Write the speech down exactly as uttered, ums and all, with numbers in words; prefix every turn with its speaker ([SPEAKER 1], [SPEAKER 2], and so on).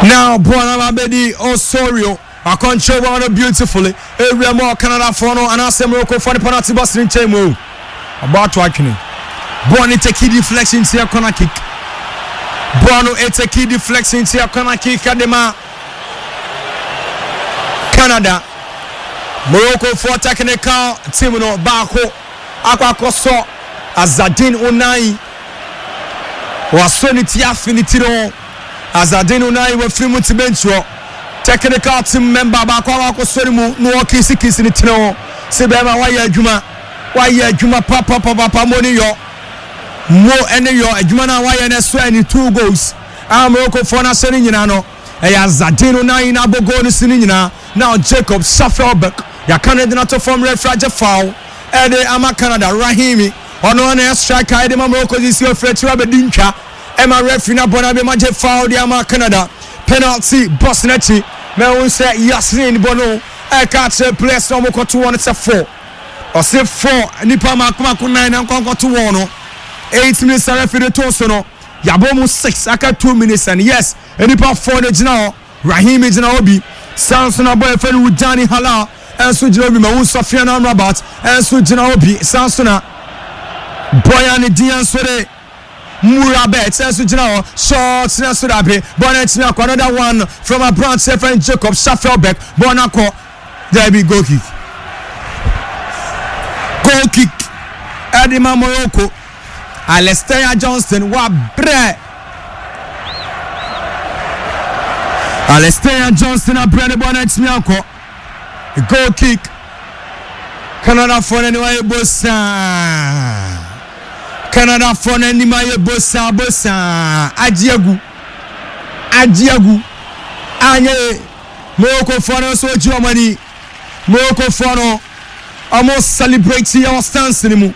[SPEAKER 1] Now bɔɔl no abɛdi Osorio akɔnkyerɛ bɔɔl no beautifully ewura mu. Canada foɔ no anaasɛ Morocco foɔ no penalty box ne nkyɛn mu o, ɔbɔ ato atwene. Bɔɔl no take deflection ti corner kick. Bɔɔl no take deflection ti corner kick ɛde ma Canada. Morocco foɔ technical team no baako akɔ akɔsɔ Azzedine Ounahi, wasɔ ne ti afi ne ti no. Azzedine Ounahi wafiri mu ti bench hɔ. Technical team member baako akɔ akɔsɔ ne mu na wɔkisikisi ne tiri ho sɛ bɛrima wayɛ adwuma, wayɛ adwuma papapapapa. Mo ne yɔ mo ɛne yɔ adwuma no a wayɛ no ɛso ɛne two goals a Morocco foɔ no ahyɛ no nyinaa no, ɛyɛ Azzedine Ounahi na abɔ goal no si no nyinaa. Now Jacob Shaffelburg yɛaka no de no ato fam. Referee agye foul ɛde ama Canada. Rahimi, ɔno na ɛyɛ striker ɛde ma Morocco, sisi ofiri akyiri abɛdi ntwa ɛma referee no abɔ no abɛma gye foul de ama Canada, penalty box n'akyi. Mɛhu sɛ Yassine bɔ no ɛka kyerɛ players na ɔmokɔto wɔn sɛ four, ɔse four nipa mako mako nine na nkɔnkɔto wɔn no. Eight minutes a referee de to so no, yabɔ mu six, aka two minutes, and yes, nipa four de gyina hɔ. Rahimi gyina hɔ bi, san so na bɔ yɛfɛ no Wujani Halal ɛnso gyina hɔ bi, ma wo Sofiane Amrabat ɛnso gyina hɔ bi, san so na bɔya ne din nso de Murabet ɛnso gyina hɔ. Short na so dabe bɔɔl no akyi akɔ. Another one from aberanteɛ fɛn Jacob Shaffelburg. Bɔɔl no akɔ dabi, goal kick, goal kick ɛde ma Morocco. Alistair Johnston wabrɛ, Alistair Johnston abrɛ ne bɔɔl no akyi akɔ, goal kick. Canada foɔ no anim ayɛ bosaa, Canada foɔ no anim ayɛ bosaa bosaa, agye agu, agye agu anyɛ. Morocco foɔ no nso gye wɔn ani. Morocco foɔ no ɔmo celebrate yɛ wɔ stands no mu.